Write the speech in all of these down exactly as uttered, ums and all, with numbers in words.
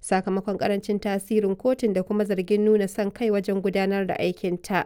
Sakamakon karancin tasirin kotun da kuma zargin nuna son kai wajen gudanar da aikinta.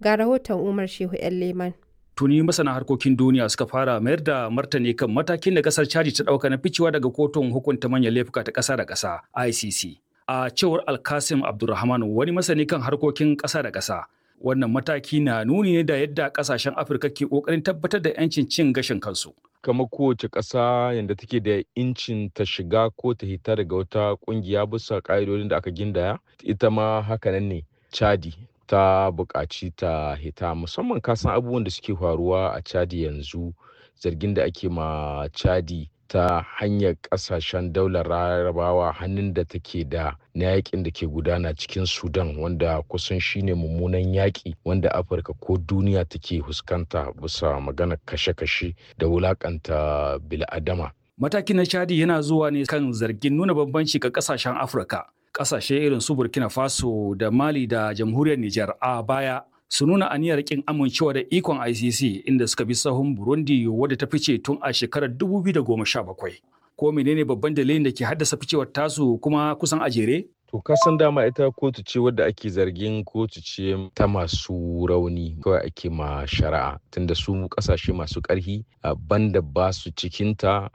Ga rahoton Umar Shehu 'yan Leman. Tuni masana harkokin duniya suka fara mayar da martani kan matakin da kasar Chadi ta dauka na ficewa daga kotun hukunta manyan laifuka ta ƙasa da ƙasa I C C. A cewar Alkasim Abdulrahman, wani masani kan harkokin ƙasa da ƙasa, wannan mataki na nuni ne da yadda ƙasashen Afirka ke ƙoƙarin tabbatar da 'yancin cin gashin kansu. Kamar kowace ƙasa yadda take da incin ta shiga ko ta hita daga wata ƙungiya bisa ƙa'idodin da aka gindaya, ita ma hakanan ne Chadi ta buƙaci ta hita, musamman kasan abubuwan da suke faruwa a Chadi yanzu, zargin da ake ma Chadi ta hanyar ƙasashen daular Larabawa, hannun da take da na yakin da ke gudana cikin Sudan, wanda kusan shine mummunan yaƙi wanda Afirka ko duniya take fuskanta bisa maganar kashe-kashe da wulakanta bil'adama. Matakin na Chadi yana zuwa ne kan zargin nuna bambanci ga kasashen Afirka. Kasashe irin su Burkina Faso da Mali da Jamhuriyar Nijar a baya su nuna aniyar kin amincewa da ikon I C C, inda suka bi sahun Burundi wadda ta fice tun a shekarar dubu biyu da goma sha bakwai. Ko menene babban dalilin da ke haddasa ficewar tasu kuma kusan a jere? To, ka san dama ita kotu ce wadda ake zargin kotu ce ta masu rauni kawai ake ma shari'a, tunda su kasashe masu ƙarfi banda ba su cikinta,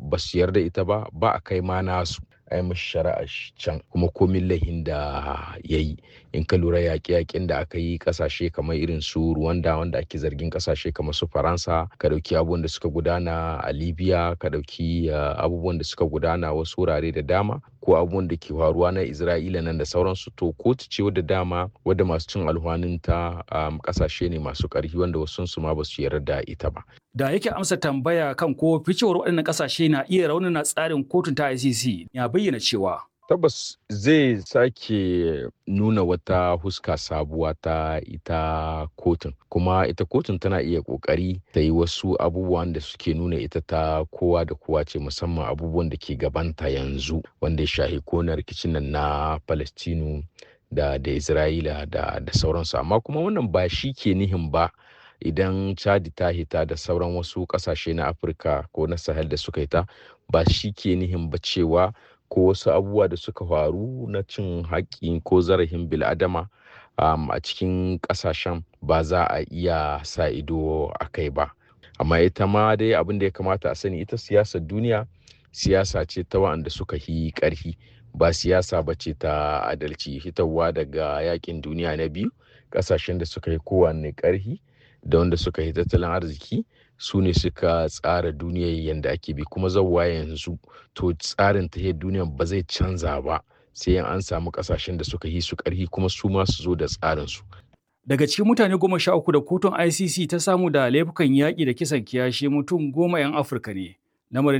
ba su yarda ita ba, ba a kai ma nasu a yi mashi shari'a can kuma komin laihin da ya yi. In ka lura, yaƙe-yaƙen da aka yi ƙasashe kamar irin su Rwanda, wanda ake zargin ƙasashe kamar su Faransa, ka ɗauki abubuwan da suka gudana a Libya, ka ɗauki abubuwan da suka gudana wasu wurare da dama, ko abubuwan da ke faruwa na Isra'ila nan da sauransu, to kotu ce wadda dama wadda masu cin alhwanin ta ƙasashe ne masu ƙarfi, wanda wasu su ma ba su yarda da ita ba. Da yake amsa tambaya kan ko ficewar waɗannan ƙasashe na iya raunana tsarin kotun ta I C C, ya bayyana cewa Tabbas zai sake nuna wata huska sabuwa ta ita kotun, kuma ita kotun tana iya kokari ta yi wasu abubuwan da suke nuna ita ta kowa da kowa ce, musamman abubuwan da ke gabanta yanzu wanda ya shahi kona rikicin nan na Palestinu da da Isra'ila da da sauransu. Amma kuma wannan ba shi ke nihin ba idan Chadi ta hita da sauran wasu kasashe na Afirka ko na Sahel da suka hita, ba shi ke nihin ba cewa ko wasu abubuwa da suka faru na cin haƙƙi ko zarafin bil'adama um, a cikin ƙasashen ba za a iya sa ido a kai ba. Amma ita ma dai abin da ya kamata a sani, ita siyasar duniya siyasa ce ta wa'anda suka yi ƙarfi, ba siyasa ba ce ta adalci. Hitarwa daga yakin duniya na biyu, ƙasashen da suka yi kowanne ƙarfi da wanda suka yi tattalin arziki su ne suka tsara duniyar yadda ake bi, kuma zauwa yanzu to tsarin tahiyar duniyar ba zai canza ba sai an samu kasashen da suka yi su karhi kuma su ma su zo da tsarin su. Daga cikin mutane goma sha uku da kotun I C C ta samu da laifukan yaƙi da kisan kiyashi, mutum goma 'yan Afirka ne. Lamarin